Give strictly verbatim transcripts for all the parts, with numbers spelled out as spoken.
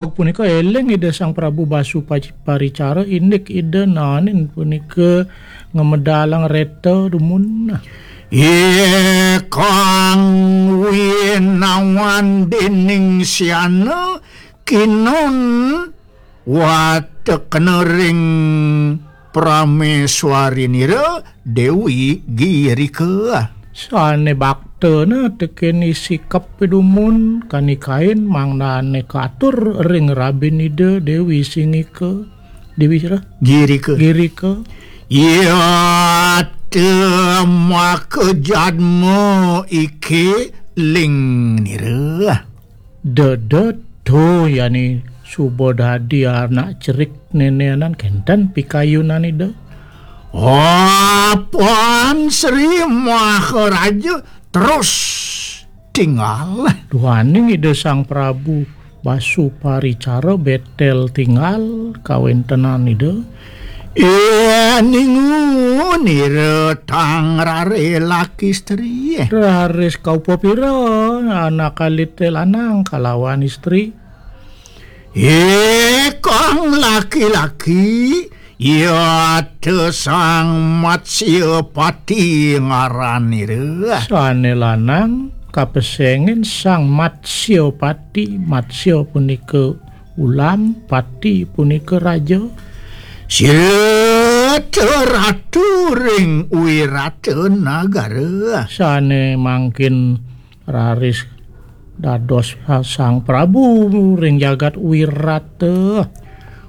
Punika eling Ida Sang Prabu Basu Pac-, Paricara indik Ida naenin punika ngamedalang reta dumun. Ikang winawan dening siana kinon watekna ring prameswarinira Dewi Girika. Sane baktana tekeni sikep dumun kanikain mangdane katur ring rabin Ida Dewi Singika. Dewi sira? Girika. Girika. Iya te maka jadma iki ling nira. Deda to yani suba dadi anak cerik nenenan kenten pikayunan Ida. Apan Sri Maharaja terus tinggal. Duaning Ida Sang Prabu Basu Paricara betel tinggal kawentenan Ida. Iya ningu nira tang rare laki istri. Raris kaupa pira anak alite lanang kalawan istri. Ikang laki-laki, yata Sang Matsya Pati ngaranira. Sane lanang kapesengin Sang Matsya Pati, Matsya punika ulam, Pati punika raja. Sira ratu ring Wirata Nagara. Sane mangkin raris dados Sang Prabu ring jagat Wirata.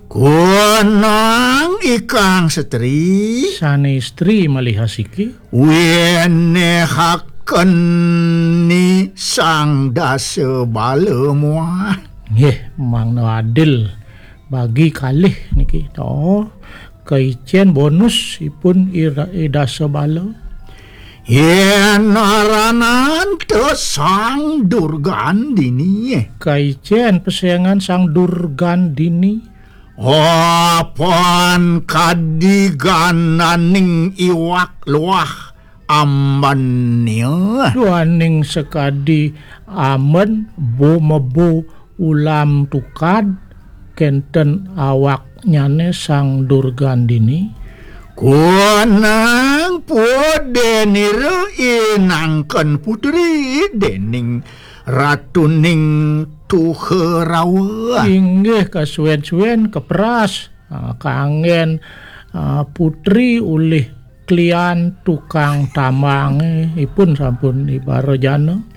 Kunang ikang setri. Sane istri malih asiki. Wenehaken ni Sang Dasa Bala muah. Nggih, mangda adil bagi kalih niki. Oh, kaicen bonus ipun Ira-, Ida Sabala. Yen aranan te Sang Durgandini. Kaicen pesengan Sang Durgandini. Apan kadigananing iwak luah ambennya. Duaning sakadi amben bo mebo ulam tukad kenten awaknyane Sang Durgandini. Kunang pudenira inangken putri dening ratuning Tuharawa. Inggih kasuwen-suwen kepras, ah, kanggen, ah, putri ulih klian tukang tambange ipun sampun ibarajana.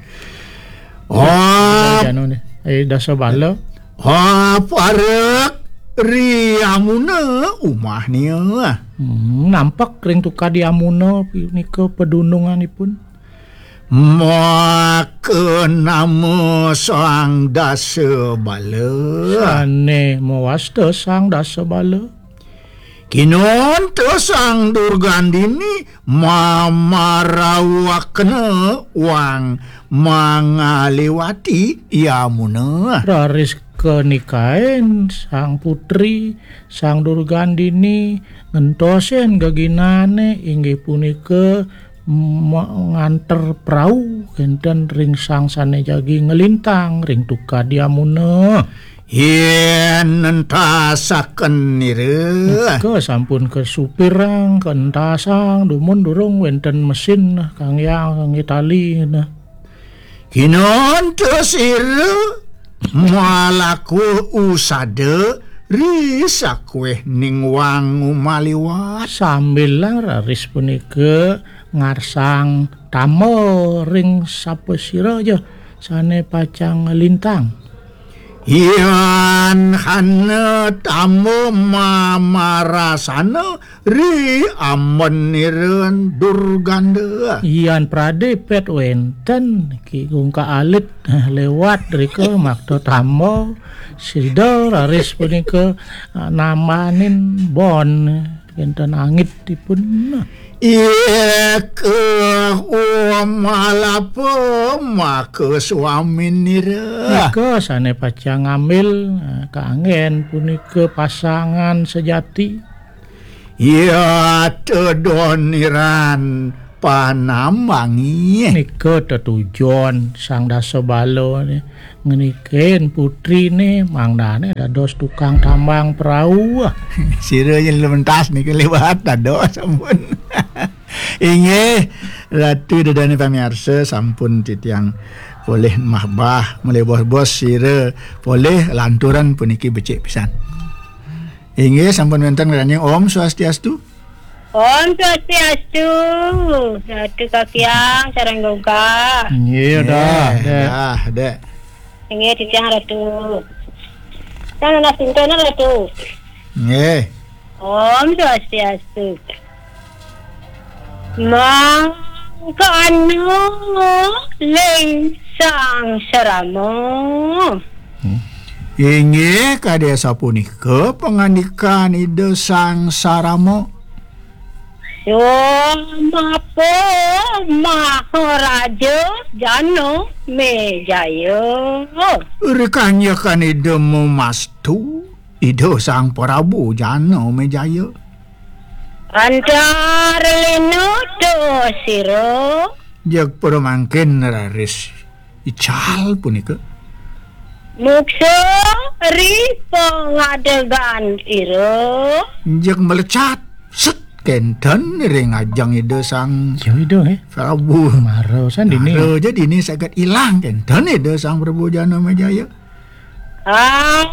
Oh. Ibarajana nih. Eh, Dasabala. Oh, parek ri Amuna umahnya. Hmm, nampak ring tukad Amuna punika pedununganipun. Maka nama Sang Dasabala. Sane mawasta Sang Dasabala. Kinonta Sang Durgandini mamarawakna wang mangaliwati Yamuna. Raris kanikain Sang Putri, Sang Durgandini, ngentosin geginane inggih punika ma-, nganter prau kenten ring sang sane jagi ngelintang ring tukad Yamuna. Yen nentasaken nira. Nika sampun kasupirang, kentasang, dumun durung wenten mesin, kangge, kangge tali, nah. Kinonta sira malaku usada ri sakuehning wang umaliwat. Sambilang raris punika ngarsang tama ring sapasira ja sane pacang lintang. Yan hana tama mamarasana ri amben niren Durganda. Yan pradipet wenten Ki Gungka Alit, eh, lewat rika makta tama sida raris punika, eh, nambanin bon, eh, kenten angitipun. Ika umalapa maka swaminira. Nika sane pacang ngambil, eh, kanggen punika pasangan sejati. Ya tedoniran Panambangi. Nika tetujon Sang Dasabala ni ngenikin putrine, mangdane dados tukang tambang perau. Sira yen lementas nika liwat dados, ampun. Inggih, Ratu ida dane pamiarsa, sampun titiang polih mahbah, malih bos-bos sira polih lanturan puniki becik pisan. Inggih, sampun wenten ngranjing. Om Swastiastu. Om Swastiastu. Ratu Kakiang sareng Gungkak. Nggih, dah, Dek. Dah, Dek. Inggih, titiang Ratu. Kan ana sintona, Ratu. Nggih. Om Swastiastu. Mangkana ling Sang Sarama. Hmm. Inggih, kadi sapunika pangandikan Ida Sang Sarama. Sumapa Maharaja Janamejaya. Rikanjekan Ida memastu, Ida Sang Prabu Janamejaya. Antar lina to sira. Jeg pramangkin raris ical punika. Muksa ri pangadegan ira. Jeg melecat, set, kenten ring ajeng Ida Sang Ya, Ida, eh. Prabu. Mara, san dini. Mara ja dini saged ilang, kenten Ida Sang Prabu Janamejaya. Ah,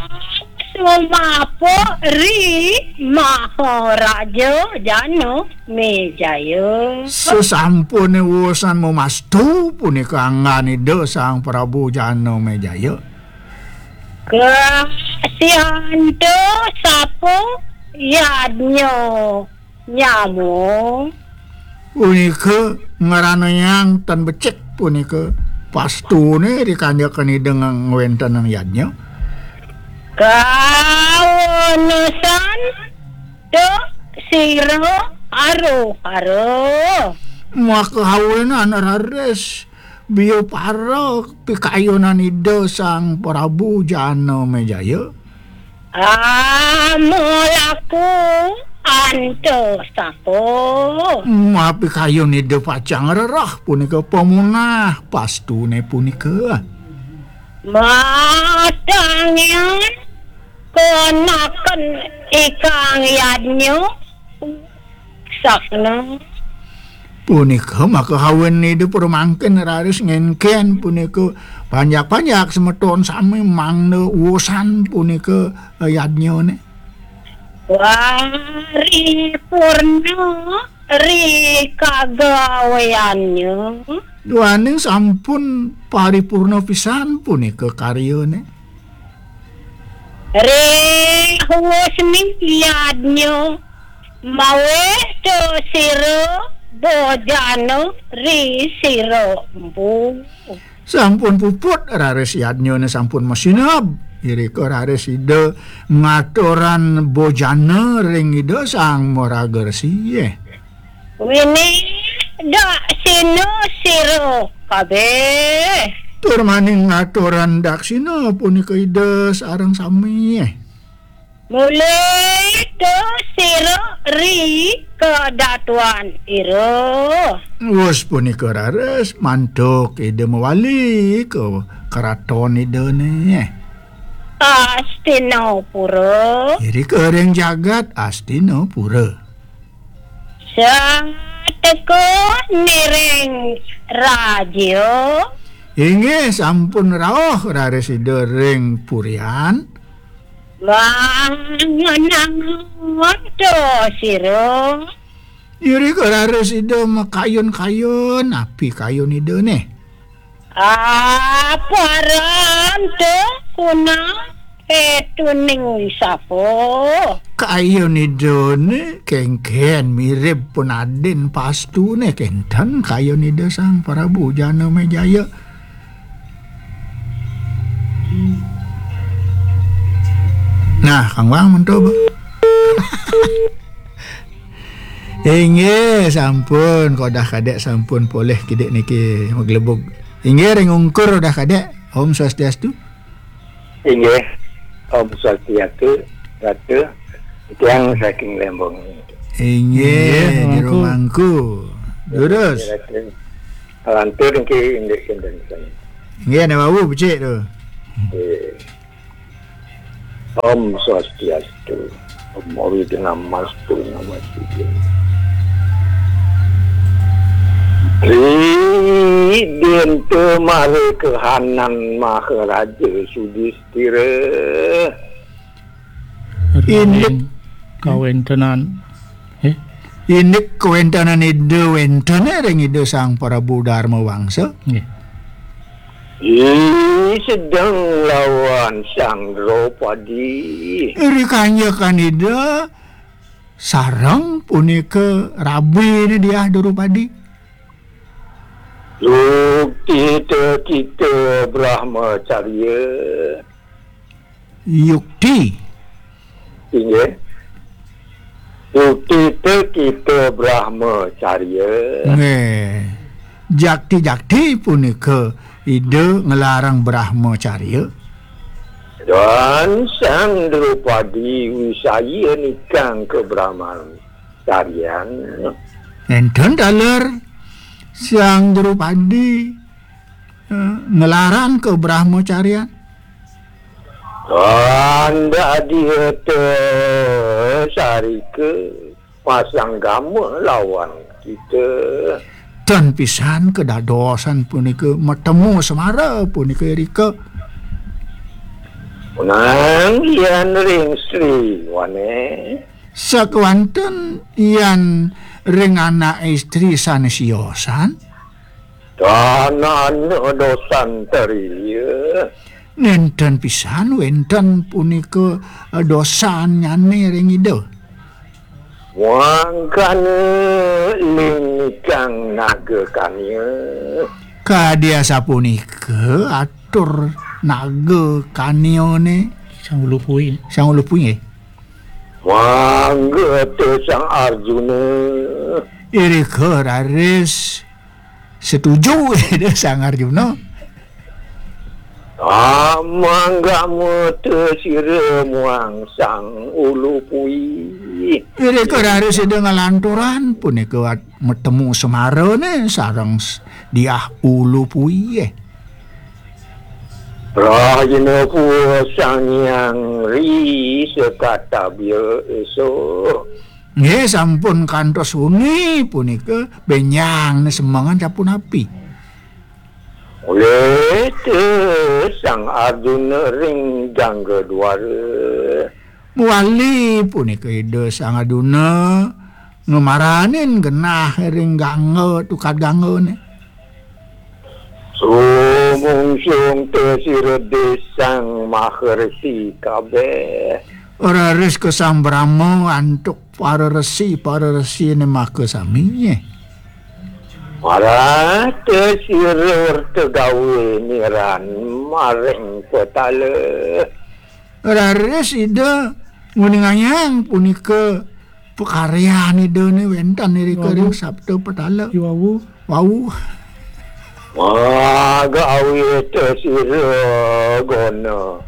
sumapa ri Maharaja Janamejaya. Sesampune wusan memastu punika anggan Ida Sang Prabu Janamejaya. Kasihanto sapa yadnya nyamung. Punika ngranayang tan becik punika pastune rikanjekan Ida ngwentenang yadnya. Kawonosan to sira aruh-aruh. Maka hawenan raris biya para pikayunan Ida Sang Prabu Janamejaya. Amolaku anto sapa. Mapikayun Ida pacang rerah punika pamunah pastune punika. Matangian konaken ikang yadnya sakna. Punika maka hawen Ida pramangkin raris ngenken punika panjak-panjak semeton sami mangda wusan punika, eh, yadnyane. Paripurna ri kagaweannya. Duaning sampun paripurna pisan punika karyane. Ring husni yadnya maweh to sira bojana ri sira empu. Sampun puput raris yadnyane sampun masineb. Irika raris Ida ngaturang bojana ring Ida Sang Maraga Resi. Wini daksina sira kabeh. Tur maning ngaturang daksina punika Ida sareng sami. Mulih to sira ri kadatuan ira. Wus punika raris mantuk Ida mawali ka karaton Idane. Astinapura. Irika ring jagat Astinapura. Sateka niring raja. Inggih sampun rauh raris Ida ring purian. Wanangan to sira. Irika raris Ida makayun-kayun, napi kayun Idane? Aparan to kunang petuning sapa? Kayun Idane kengken mirib punadin pastune kenten kayun Ida Sang Prabu Janamejaya. Nah, Kang Wang mentu, Bu. Inggih, sampun, Kodah Kadek sampun polih kidik niki maglebug. Inggih, ring ungkur Kodah Kadek. Om Swastiastu. Inggih, Om Swastiastu, Ratu. Tiang saking Lembong. Inggih, Inggih, Jero Mangku. Mangku. Durus. Lantur niki indik sinten sami. Nggih, ana wau becik tu. Nggih. Om Swastiastu. Om Awighnamastu Namo Sidham. Ridin tumekahanan Maharaja Sudistira. Indik. Kawentenan. Eh? Indik kawentenan Ida wenten ring Ida Sang Prabu Darma Wangsa. Nggih. Ih, sedeng lawan Sang Dropadi. Ri kanjekan Ida sareng punika rabine Diah Drupadi. Yukti te kita Brahmacarya. Yukti. Inggih. Yukti te kita Brahmacarya. Nggih. Jakti-jakti punika Ida nglarang Brahmacarya. Dan Sang Drupadi wisaya nikang ke Brahmacaryan. Enten taler Sang Drupadi eh, nglarang ke Brahmacaryan. Tanda dieta sarika pasanggama lawan kita. Ten pisan kedadosan punika matemu semara punika irika. Menang yan ring Sri Wane. Sakewanten yan ring anak istri sane siosan. Tanana dosan tariya. Nenten pisan wenten punika eh, dosannyane ring Ida. Mangkana ling nikang naga kania. Kadi asapunika atur naga kaniane. Sang Ulupui. Sang Ulupui, nggih. Mangga te Sang Arjuna. Irika raris setuju Ida Sang Arjuna. Amanggama te sira muang Sang Ulupui. Irika raris Ida ngalanturan punika wat-, matemu semarane sareng s-, Diah Ulupui. Rahina pua Sang Hyang Ri sekatabya esuk. Nggih, sampun kantos wengi punika benjang semengan sapunapi. Mulih te Sang Arjuna ring Gangga Dwara. Mawali punika Ida Sang Arjuna ngamaranin genah ring Gangga, tukad Ganggane. Sumungsung te sira Sang Maharsi kabeh. Raris ka Sang Brahma antuk para resi, para resine makasami. Marate sira werta gawe niran maring petala. Raris Ida nguningayang punika pakaryan Idane wenten irika ring Wau. Sabda petala. Iwawu. Wau. Magawe te sira gona.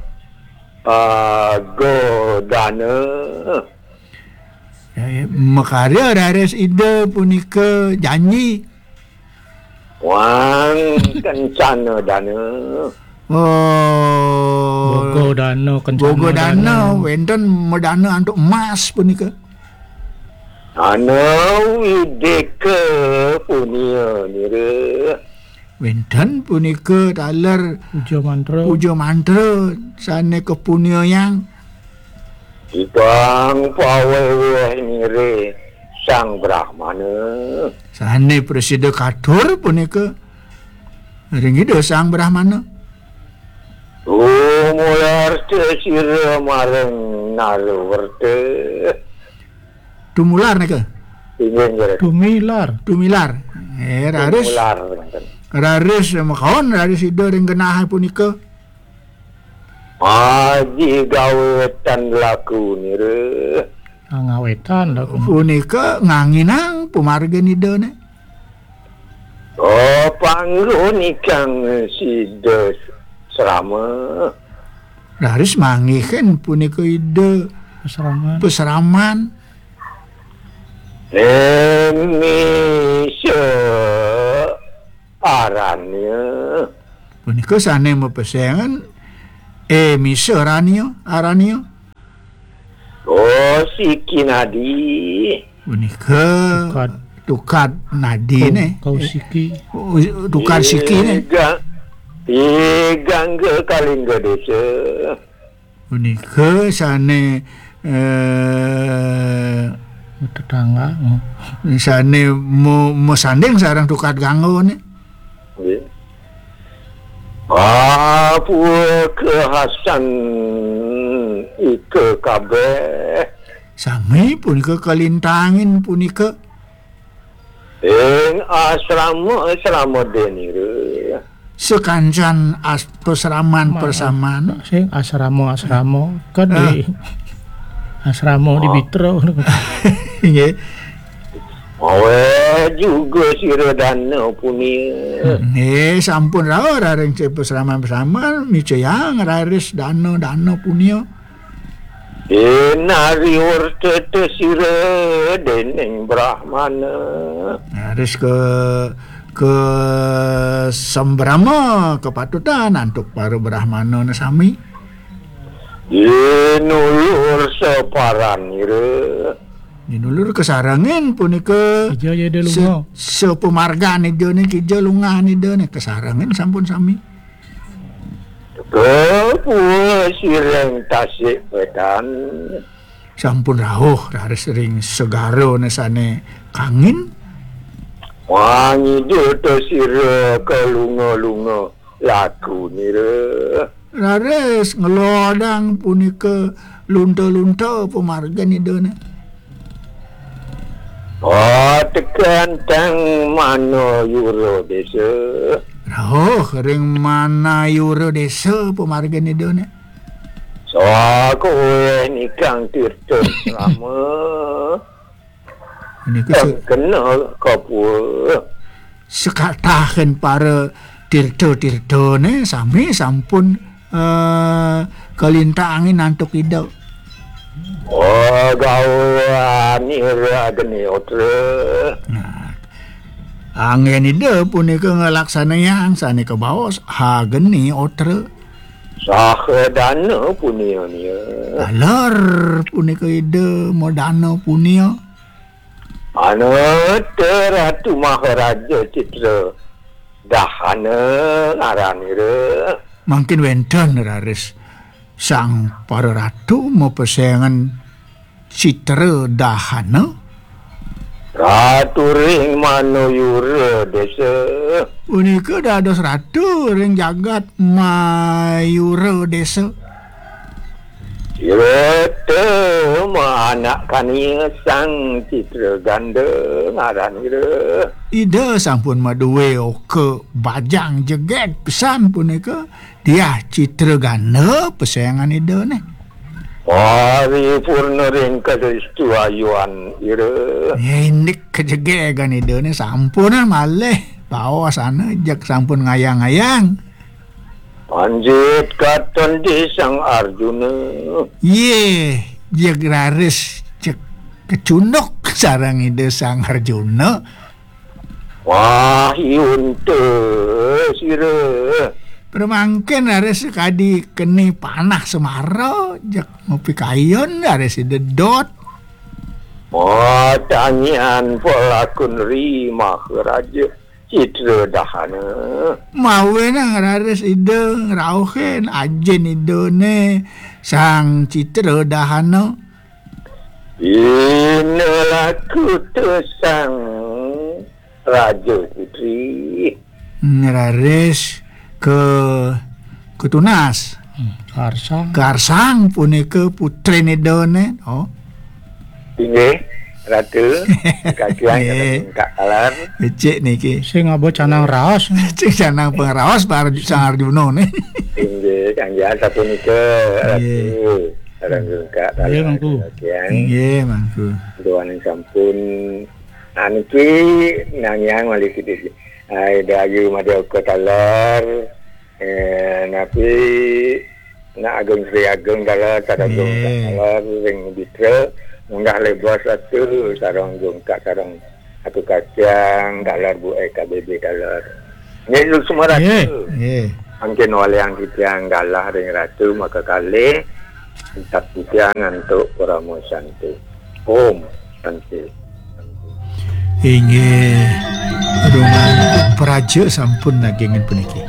Agodana. Eh, makarya raris Ida punika janji. Wang kencana dana. Oh. Boga dana, kencana Boga dana, dana. Wenten madana antuk emas punika. Dana widika punia nira. Wenten punika taler puja mantra. Puja mantra sane kapuniayang. Ikang paweweh nire Sang Brahmana. Sane prasida katur punika ring Ida Sang Brahmana. Tumular te sira maring Narawerta. Tumular nika. Inggih, inggih. Tumilar. Tumilar. Eh, raris. Tumular, wenten. Raris makaon, raris Ida ring genah punika. Aji gawe tan laku nira. Ngawetan laku. Punika nganginang pamargin Idane. Oh, panggun ikang sida srama. Raris manggihin punika Ida pasraman. Pasraman. Nemi Arania. Punika sane mapesengan, eh, misa Arania, Arania. Oh, siki nadi. Punika tukad, tukad nadi ne. Kau, kau siki. Oh, tukad siki ne. Tiga, tiga ngge kalingga desa. Punika sane, eh, tetangga, oh. Sane mo-, masanding sareng tukad gangga ne. Nggih. Apa kehasan ika kabeh? Sami punika kalintangin punika. Ing asrama, asrama denira. Sekancan as-, pasraman, persamaan. Sing asrama-asrama. Kan di asrama di Bitra. Nggih. Aweh juga sira dana punia. Nggih, sampun rauh raring cek pasraman-pasraman, micayang raris dana-dana punia. Inari orta sira dening Brahmana. Raris ke, ke sembrama kepatutan antuk para Brahmana sami. Dinulur separanira. Dinulur kasarengin punika. Kija ya de se-, lunga. Sepamargan ida ne kija lungan ida ne kasarengin sampun sami. Kepuh sireng tasik wetan. Sampun rauh raris ring segara ne sane kangin. Wangida ta sira kalunga-lunga lakunira. Raris ngelodang punika lunta-lunta pamargan idane. Oh, tekan tang Manayura Desa. Rauh ring Manayura Desa pamargan idane. Sakoe nikang tirta selama. Nika se- kena kapur. Sekatahen para tirta-tirtane sami sampun, eh, kalintangin antuk Ida. Oh, gawan ira geni otra. Nah, anggen Ida punika ngelaksanayang sane kabaos ha geni otra. Saha dana punia nia. Taler punika Ida madana punia. Anata Ratu Maharaja Citra Dahana ngaranira. Mangkin wenten raris Sang Pararatu mapesengan Citra Dahana. Ratu ring Manayura Desa. Punika dados ratu ring jagat Mayura Desa. Sira ta maanak kania Sang Citra Ganda ngaranira. Ida sampun madue oka bajang jegeg pisan punika. Diah Citra Ganda pesengan Ida ne. Paripurna ring karestu ayuan ira. Ya, indik kajegegan Ida ne sampun malih. Baosana jeg sampun ngayang-ngayang. Panjit katon di Sang Arjuna. Ye, jeg raris cek kecunduk sareng Ida Sang Arjuna. Wah, iunta sira. Pramangkin raris kadi keni panah semara, jeg mapikayun raris Ida dot. Wah, tangian palakun ri Maharaja Citra Dahana. Mawinan raris Ida ngrauhin ajin Ida ne Sang Citra Dahana. Ina laku tu Sang Raja Putri. Ngraris ke, ketunas. Hmm, karsang. Karsang punika putrin Ida ne. Oh. Inggih, Ratu. Kasihan. Nggih. Kak Kalar. Becik niki. Sing aba canang raos. Sing canang pangraos Pak Arju-, Sang Arjuna ne. Inggih, kangge sapunika, Ratu. Nggih. Sareng Kak Kalar. Nggih, Mangku. Kasihan. Nggih, Mangku. Duaning sampun. Aniki nangiang malih sithik. Ai, Dayu Madya Uka taler. Eh, napi Nak Agung Sri Agung taler, Kak Agung Kak taler, ring Bitra, munggah lebos atu, sareng Agung Kak, sareng Atu Kacang taler, Bu E K B B taler. Nggih, Ratu. Nggih, nggih. Mangkin walehang titiang galah ring Ratu makakalih, entep titiang antuk Parama Santi. Om Santi. Inggih, Jero Mangku Praja sampun nagingin puniki.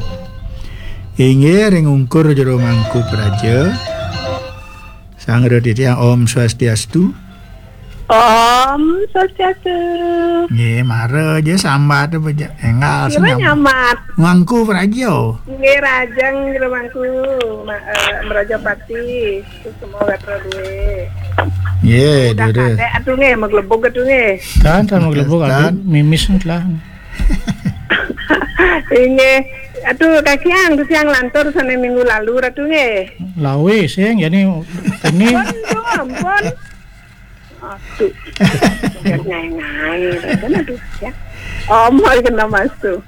Inggih, ring ungkur Jero Mangku Praja. Sang Ratu titiang, Om Swastiastu. Om Swastiastu. Nggih, mara aja sambat apa aja. Engal. Kira senyam. Nyambat. Mangku Praja. Nggih, rajang Jero Mangku. Ma-, eh, Mraja Pati. Semua gatra duwe. Nggih, udah duwe. Kadek atuh nggih, maglebug atuh nggih. Kan, kan maglebug, kan, aduh, mimis telah. Inggih. Aduh, kakiang, siang lantur sane minggu lalu, Ratu nggih. Lawe, sing, jani, ini. Ampun, ampun. Aduh. Ngai-ngai, Ratu, aduh, ya. Om, kena masuk.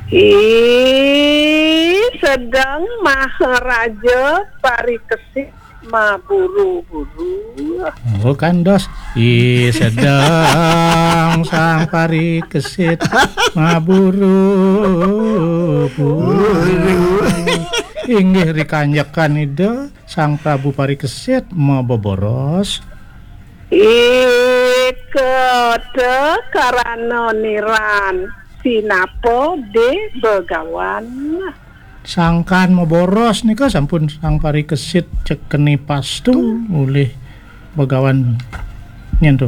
Ih, sedang Maharaja Parikesit maburu-buru. Oh, kan dos. Ih, sedang Sang Parikesit maburu-buru. Inggih rikanjekan Ida Sang Prabu Parikesit maboboros. Ikete karana niran sinapa de Begawan. Sangkan maboros nika sampun Sang Parikesit cekeni pastu ulih Begawan nyen tu.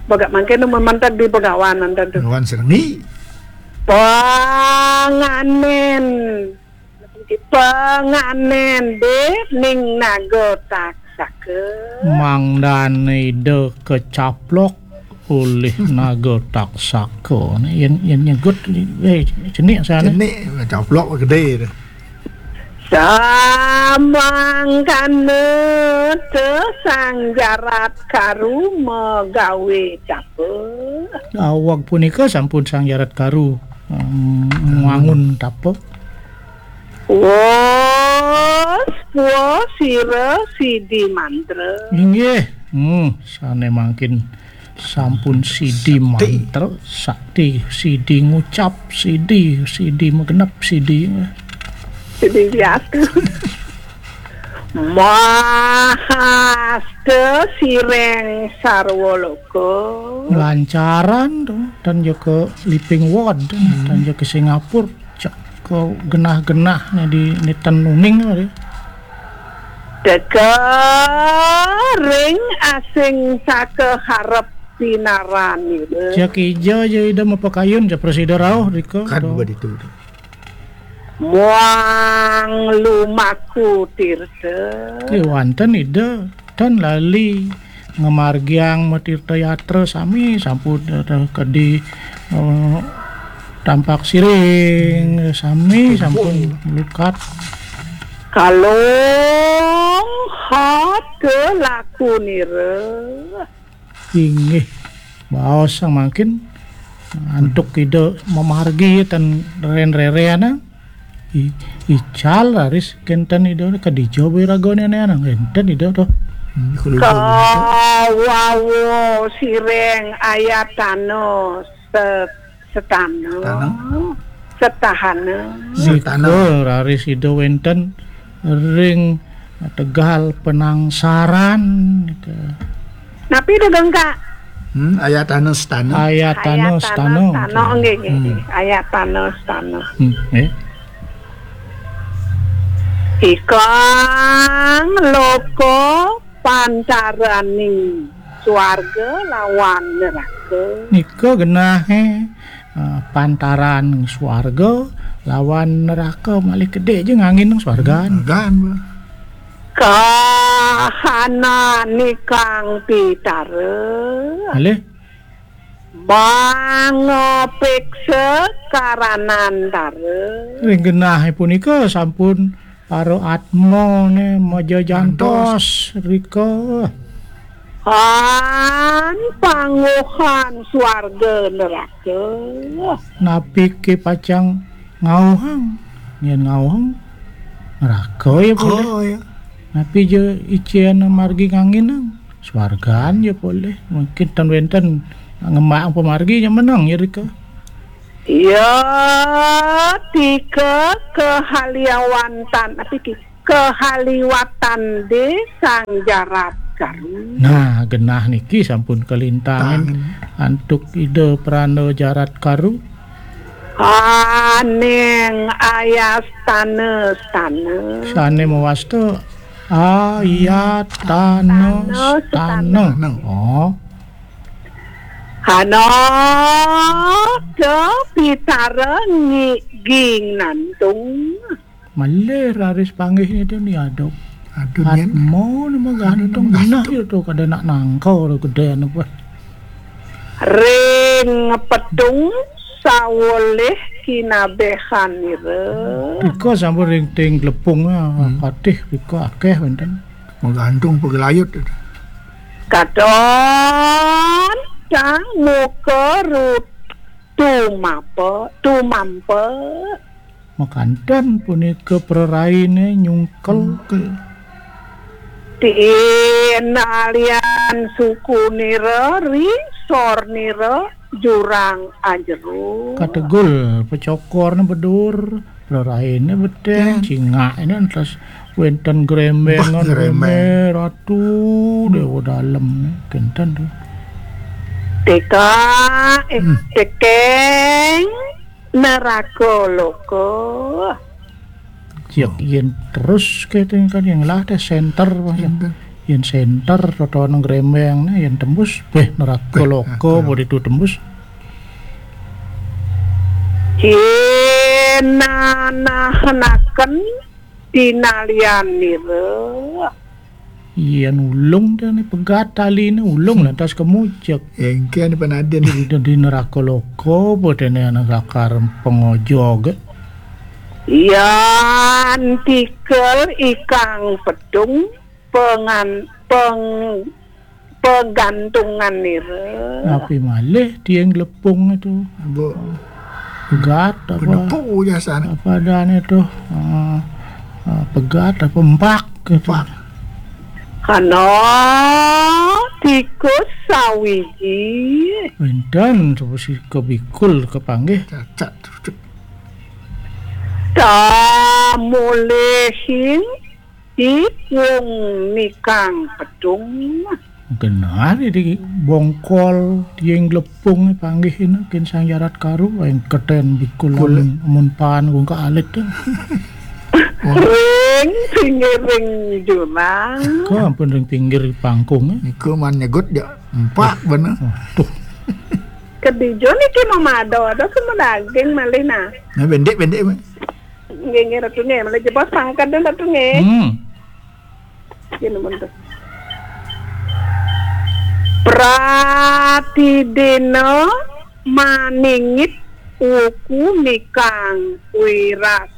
Bega mangke nu mementet di Begawan nenten tu. Begawan Serengi. Panganen. Panganen de ning naga taksaka. Mangdane Ida kecaplok ulih naga taksaka. Yen, yen nyegut, eh, cenik sana. Cenik, caplok gede tu. Samangkana te Sang Jarat Karu magawe tapa. Awag punika sampun Sang Jarat Karu, em, ngwangun tapa. Wos, wos sira sidi mantra. Inggih. Hmm, sane mangkin sampun sidi sakti. Mantra, sakti, sidi ngucap, sidi, sidi magenep, sidi. Sidi biasa. Mahasta sireng sarwa loka. Lancaran tu, dan juga Liping Ward, hmm, dan juga Singapura. Cak ke genah-genah ni di, ni ten uning tadi. Teka ring asing saka harep pinaran ida. Cak ija ja ida mapakayun, ja presida rauh dika. Kan tu. Buat itu. Muang lumaku tirta. Ki wanten ida. Tan lali ngamargiang matirta yatra sami sampun, eh, kedi, eh, tampak siring sami sampun lukat. Kalong hate laku nira. Inggih. Baos mangkin antuk ida mamargi tan ren-rereana. I-, ical raris kenten ida kadija boy ragane ane-ane kenten ida to. Hmm, kulo kawawo sireng ayatana se-, setana. Tana. Setahana. Setana. Nika raris ida wenten ring tegal penangsaran nika. Napi ida gengkak? Hmm, ayatana setana. Ayatana setana. Ayatana setana, nggih, nggih, hmm, nggih. Ayatana setana. Hmm, nggih. Ikang loka pantaraning swarga lawan neraka. Nika genah, eh, eh, pantaran swarga lawan neraka, malih kedek ja ngangin swargan. Swargan, bah. Kahanan ikang pitara. Malih? Mangapeksa karanantara. Ring genah punika sampun para atma ne majajantos rika. Han pangauhan swarga neraka. Napi ke pacang ngauhang? Yen ngauhang neraka ya boleh. Oh, ya. Napi ja icen margi nganginang? Swargan ya boleh. Mungkin tan wenten ngembang pamargi ya menang ya rika. Ya, tika kehaliawantan, apa iki? Kehaliwatan de Sang Jarat Karu. Nah, genah niki sampun kalintangin Tangen. Antuk Ida Prana Jarat Karu. Aning ayastana-stana. Sane mawasta ayatana-stana. Taneng. Oh. Hana ke pitara ngi-, ging nantung. Malih raris panggih itu ni aduk. Aduh, nyen. Atmo ni magantung. Aduh, genah ya tu kada nak nangkau tu gedé anu apa. Ring petung sawolih kinabehanira. Tika sampun ring ting glepung, ah, Hmm. Patih tika akeh wenten. Magantung pagelayut. Katon tang muka rut tumapa, tumampa. Makanten punika praraine nyungkel. Nyungkel. Tinalian sukunira ri sornira jurang ajero. Kategul pecokorne bedur, praraine beten, Ten. Cingakne entas wenten grembengan. Bah, grembeng. Reme, ratu, dewa dalem, kenten tu. Teka, eh, Hmm. Tekeng neraka loka. Cek yen terus ke tingkat yang lah teh center, Mas. Center. Yen center, totoan gremeng, nah, yen tembus, beh, neraka Beh, loka, neraka. Boleh tu tembus. Yen nanahnaken tinalian nira. Yen ulung dene pegat taline, ulung lantas kemucek. Engke ane panaden. Di, di neraka loka, apa dene anak lakar pengojog. Yan tikel ikang pedung pengan-, peng-, pegantungan nira. Napi malih tiang glepung itu? Bu. Pegat apa? Penepu jasane. Apa adane tuh? Ah, ah, pegat apa empak gitu. Empak. Hana tikus sawiji. Wenten sapa sika bikul kepanggih. Cacat. Tamulihin Ipun nikang pedung. Genah di bongkol tiing glepung panggih ina kin Sang Jarat Karu, engketen bikul. Kul- amun, amun pan kung ka alit. Ring pinggir ring jurang. Ka ampun ring pinggir pangkung, eh. Niku man nyegut ya empak bener. Waduh. Kedijo niki mamado, ada semua daging malih nah. Nah, bendek, bendek, Mak. Nggih, nggih, Ratu nggih. Malih jebos pangkat dan Ratu nggih. Hmm. Nggih, nuwun tuh. Pratidina maningit wuku nikang wiras,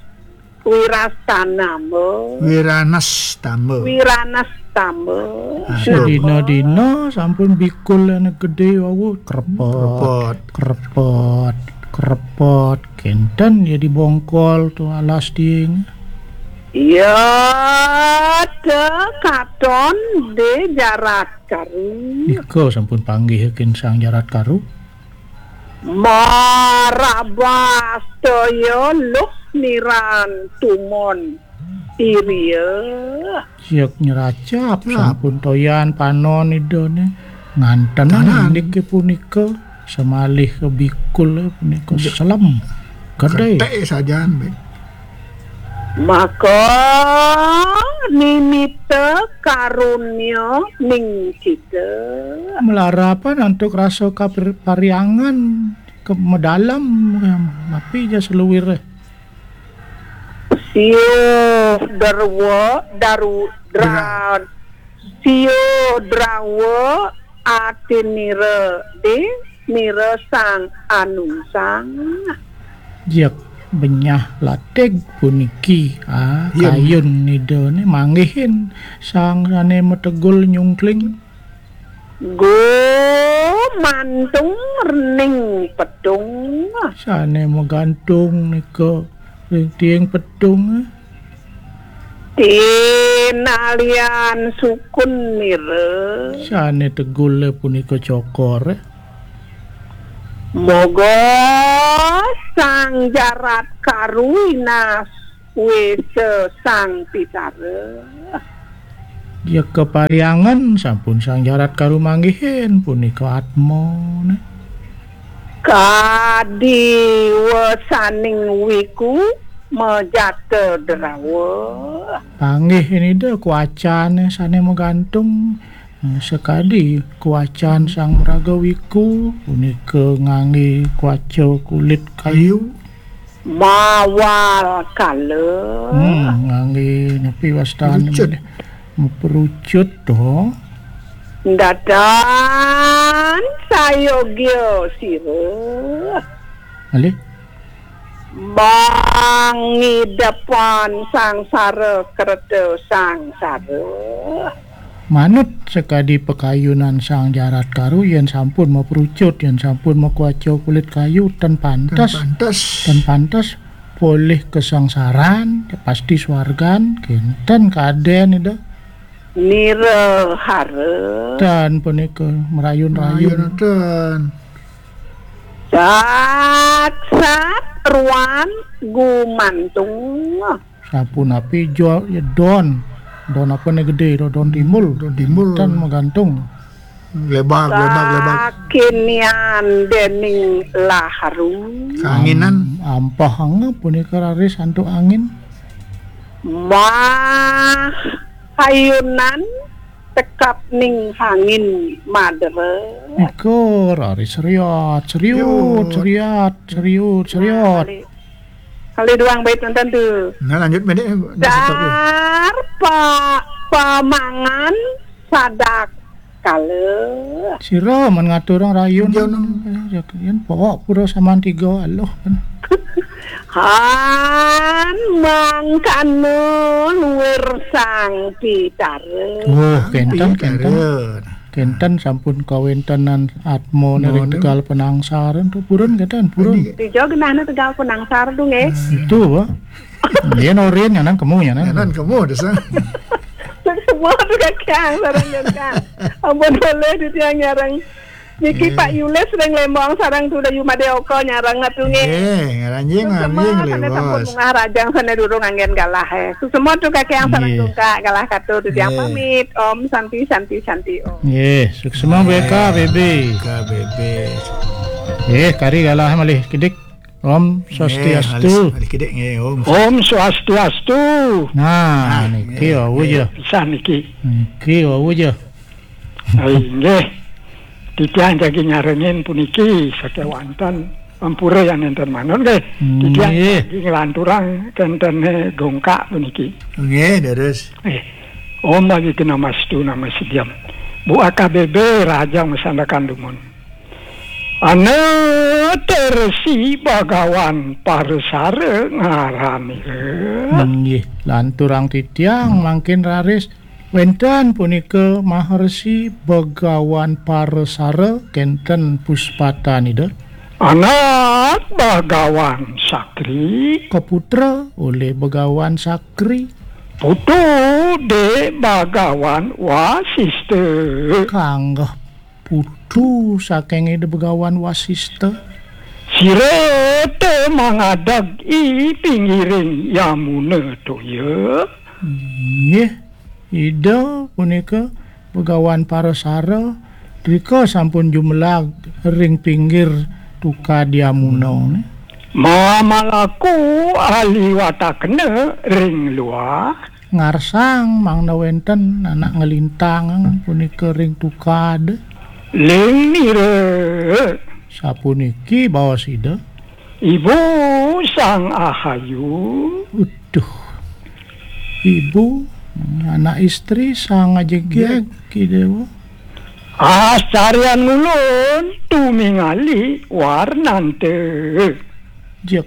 wirastanama. Wiranas tamba. Wiranas tamba. Aduh. Sedina-dina sampun bikul anak gede wau krepot. Krepot. Krepot, krepot, kenten ya dibongkol tu alas ding. Iya, te katon de Jarat Karu. Nika sampun panggih kin Sang Jarat Karu. Marabas toyo luh niran tumon iria. Siap nyeracap, Siap. Sampun toyan panon idane. Nganten. Kanan. Indik punika semalih ke bikul punika. Nggih. Selem. Gede. Gede sajan, Bek. Maka nimita karunya ning kita. Melarapan antuk rasa kapir-, pariangan ke medalem, napi ja seluwir. Siuh derwa daru dra-, Dra-, siuh drawa atinira di nira sang anungsang. Jek benyah latig puniki, ah, Yen. Kayun nidane manggihin sang ane metegul nyungkling. Gumantung rening pedung. Sane magantung nika ring tiing pedung. Tinalian sukun nira. Sane tegule punika cokor. Moga Sang Jarat Karu inas wésa Sang Pitara. Ya kapariangan sampun Sang Jarat Karu manggihin punika atmane. Kadi wesaning wiku majata drawa. Panggih inida kwacane sane magantung. Sakadi kwacan Sang Mraga Wiku punika ngangge kwaca kulit kayu. Mawal kala. Hmm, ngangge nepi wastane Merucut. Meperucut to. Datan sayogya sira. Malih? Mangidepan sangsara, kerta sangsara. Manut sakadi pakayunan Sang Jarat Karu, yen sampun maperucut, yen sampun makwaca kulit kayu, ten pantes. Ten pantes. Ten pantes polih kasangsaran, pasti swargan, kenten kaden ida. Nira hara. Tan punika merayun-rayun. Merayun ten. Saksat ruan gumantung. Sapunapi jo, ya don. Don apa ne gede, don, don timbul. Don timbul. Tan magantung. Lebak, lebak, lebak. Kakinian dening laharu. Kanginan. Am-, ampah angep punika raris antuk angin. Mah ayunan tekap ning angin madera. Nika raris seriat, seriut, seriat, seriut, seriat. Kali, kali duang bait nonton tu. Nah, lanjut, Medik. Dar pa-, pamangan sadak kala. Sira man ngaturang rayun. Jan. Yen pawak pura saman tiga, aluh kan. Han mangkana luir Sang Pitara. Oh, kenten, kenten. Pitara. Kenten sampun kawentenan atmane ring tegal penangsar. Tu purun kenten, purun. Dija genahna tegal penangsar tu nggih. Itu, Pak. Yen orin nyanan kemu nyanan. Nyanan kemu desa. Semua tu kakang sareng kakang. Ampun boleh di tiang nyareng. Niki Pak Yulis ring Lembang sareng tu Dayu Made Oka nyareng atu nggih. Nggih, ngaranjing, ngaranjing sampun Lembang. Mungah rajang sane durung anggen galah, eh. Semua tu kakang sareng tungkak galah katu tu tiang pamit. Om Santi, Santi, Santi, Om. Nggih, suksma B K B B. B K B B. Eh, kari galah malih kidik. Om Swastiastu. Nggih, alis, alis kidik, nggih, Om. Om Swastiastu. Nah, niki wau ja. Pisan niki. Niki wau ja. Ai, nggih. Titiang jagi nyarengin puniki sakewanten ampura yang nenten manut, nggih. Titiang jagi nglanturang kentene dongkak puniki. Nggih, deres. Eh, Om Awighnamastu Namo Sidham. Bu A K B B Raja Masandakan Dumun. Ana tersi Bagawan Parsara ngaranira. Inggih, lanturang titiang mangkin raris wenten punika Maharsi Bagawan Parsara kenten puspatan ida. Anak Bagawan Sakri. Kaputra oleh Bagawan Sakri. Putu de Bagawan Wasista. Kanggeh putu saking Ida Begawan Wasista. Sira te mangadeg i pinggiring Yamuna Toya. Nggih, Ida punika Begawan Parasara, rika sampun jumelag ring pinggir tukad Yamuna. Mamalaku aliwatakna ring luar. Ngarsang mangda wenten anak ngelintang punika ring tukad. Ling nira. Sapuniki baos Ida. Ibu Sang Ahayu. Uduh. Ibu, anak istri Sang Ajegeg, Ki Dewa. Ascarian ngulun tumingali warnante. Jeg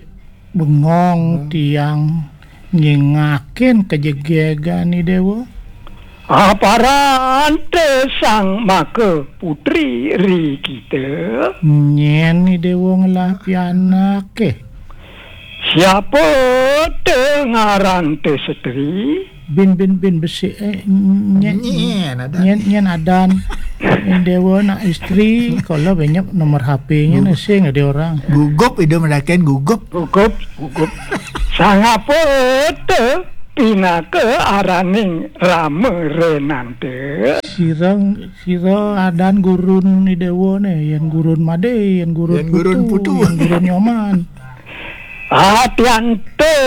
bengong tiang nyingakin kajegegan I Dewa. Aparan te sang maka putri ri kita. Nyen I Dewa ngelah pianake. Siapa te ngaran te setri? Bin, bin, bin, besi, eh, nyen, nyen, nyen adan. Dewa nak istri, kalau banyak nomor H P-nya, nah, sing ada orang. Gugup, ida meraken gugup. Gugup, gugup. Sangapa te pinaka araning Rama Renanta? Sira, sira adan gurun ni dewa ne, yen gurun Made, yen gurun Yen gurun Putu, Putu. Yen gurun Nyoman. Atyanta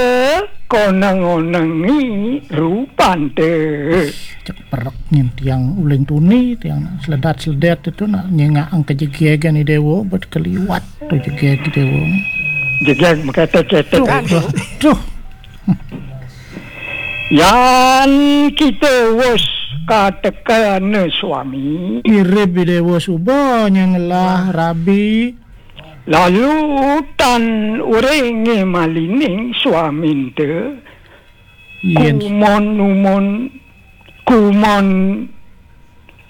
koneng-onengi rupanta. Cek perek nyen tiang uling tuni, tiang nak seledat-seledat itu nak nyengak angka jegegen i dewa, bet keliwat tu jegeg i dewa. Jegeg meketek-ketek. Tuh, tuh. Yan kita wus katekana suami. Mirib i dewa suba nyen ngelah rabi. Lalu tan uringe malining suaminta. Yen. Kumon-umon, kumon,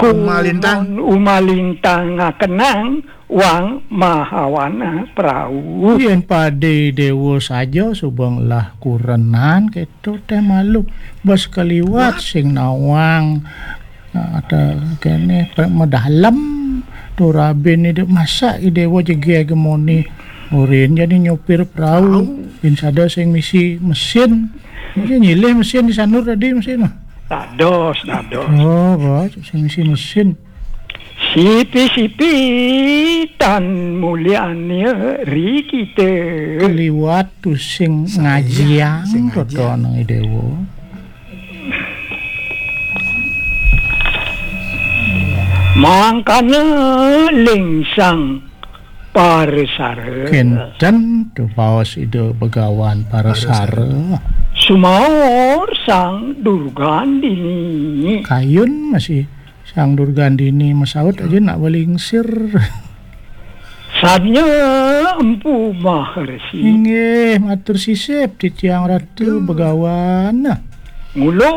Umalintang. Kumon umalintangakenang wang mahawana prau. Yen pade dewa saja suba ngelah kurenan keto teh malu. Bas kaliwat sing nawang. Nah, ada kene pe-, medalem tu rabin ni dek masak i dewa jegege moni. Urin jadi nyopir perahu. Perahu. Bin sada sing misi mesin. Misi nyilih mesin di sanur tadi mesin mah. Dados, dados. Oh, bos, sing misi mesin. Sipi-sipi tan mulyane ri kita. Keliwat tu sing ngajiang sing ngajiang. Toto nang i dewa. Mangkana lingsang Parasara. Kenten tu baos Ida Begawan Parasara. Sumaur Sang Durgandini. Kayun masih Sang Durgandini masaut aja nak balingsir. Sadnya Empu Maharsi. Inggih, matur sisip titiang Ratu Begawan. Ngulo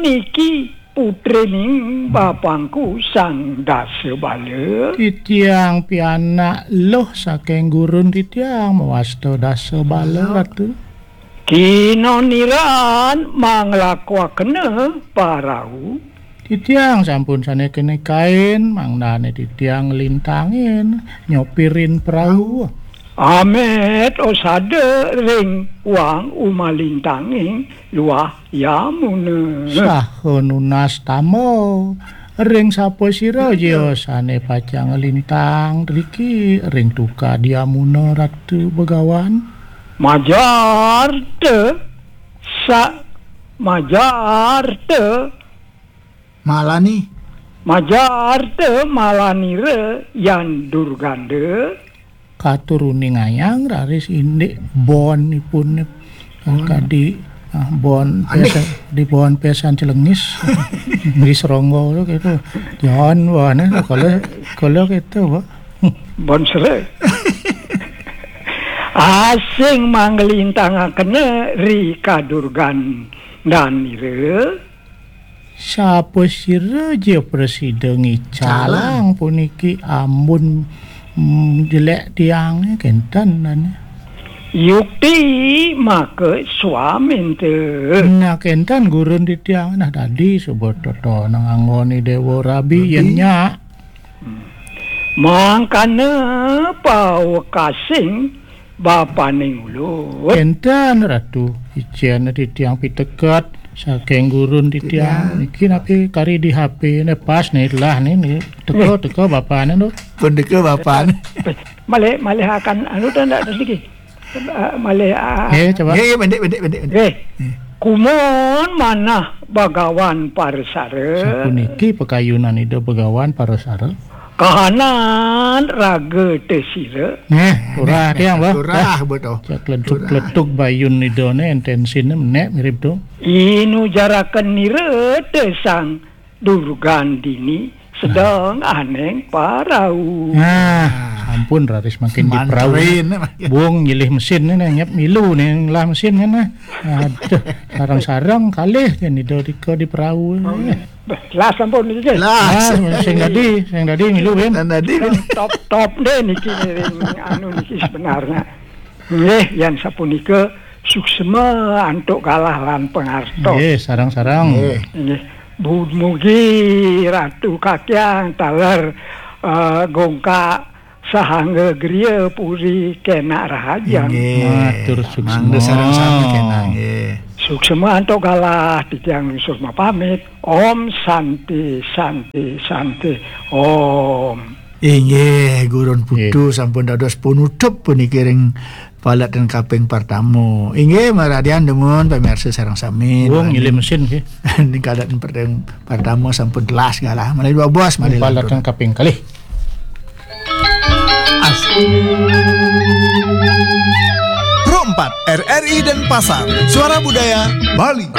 niki putrining bapangku Sang Dasabala. Titiang pianak luh saking gurun titiang mawasta Dasabala, Ratu. Kinoniran manglakuakena parau. Titiang sampun sane kene kain, mangdane titiang nglintangin, nyopirin prau. Amet osada ring wang umalintanging luah Yamuna. Saha nunas tama ring sapa sira jia sane pacang nglintang driki ring tukad Yamuna Ratu Begawan? Majarta sa-, majarta Malani. Majarta malanira Yan Durganda. Katur uning ayang raris indik bon ipun, hmm, kadi, ah, bon aneh. Pesa-, di bon pesan celengis. Di seronggo tu gitu. Jan wane kalau, kalau gitu, Pak. Bon sere. Asing manggelintangakena ri kadurgan danira. Sapa sira ja prasida ngicalang Calang. Puniki ambun, mm, jelek tiange kenten dane. Yukti maka swaminta. Nah, kenten gurun titiang nah dadi suba tata nang anggone Dewa Rabi. Rabi. Yen nyak. Mangkana pawekasing bapaning ulun. Enten, Ratu, icen titiang piteket saking gurun titiang. Titiang. Niki napi kari di H P ne pas ne lah ne, ne teka, eh, teka bapane tu. Pun teka bapane. Eh, malih, malih akan anu dah ndak terus niki. Eh, malih, ah. Eh, coba. Ya, ya, pendek, pendek, pendek, pendek. Nggih. Hmm. Kumun manah Bagawan Parasara. Sapuniki pakayunan Ida Bagawan Parasara. Kahanan raga tesira. Neh, turah tiang, bah. Turah, betul. Cak kletuk-kletuk bayun Ida ne, intensine menek mirip tu. Inujaraken nira te Sang Durgandini sedeng aneng parau. Nah, ampun raris makin di parau. Mantrin, makin. Bung nyilih mesin ni, nyep milu ni, ngelah mesin ni, nah. Aduh, sarang-sarang kalih kan Ida dika di parau. Oh, ya. Bah, jelas ampun niki. Jelas. Nah, sing dadi, sing dadi milu, Win. Dan dadi, Win. Top, top deh niki, ring anu niki sebenarnya. Nggih, yan sapunika suksma antuk galah lan pangartos. Nggih, sarang-sarang. Nggih. Nggih. Dumugi Ratu Kakyang taler, eh, Gongka sahangga griya puri kena rahajan. Inggih. Matur suksma. Mangda sareng sami kena, nggih. Suksma antuk galah, titiang lungsur mapamit. Om Santi, Santi, Santi. Om. Inggih, Gurun Putu. Nggih. Sampun dados penutup puniki ring paletan kaping pertama. Inggih, maradian dumun pamirsa sareng sami. Wong ngiling mesin, nggih. Ning paletan pertama sampun telas galah. Malih dua belas, malih paletan kaping kalih. Pro empat, R R I Denpasar, Suara Budaya Bali.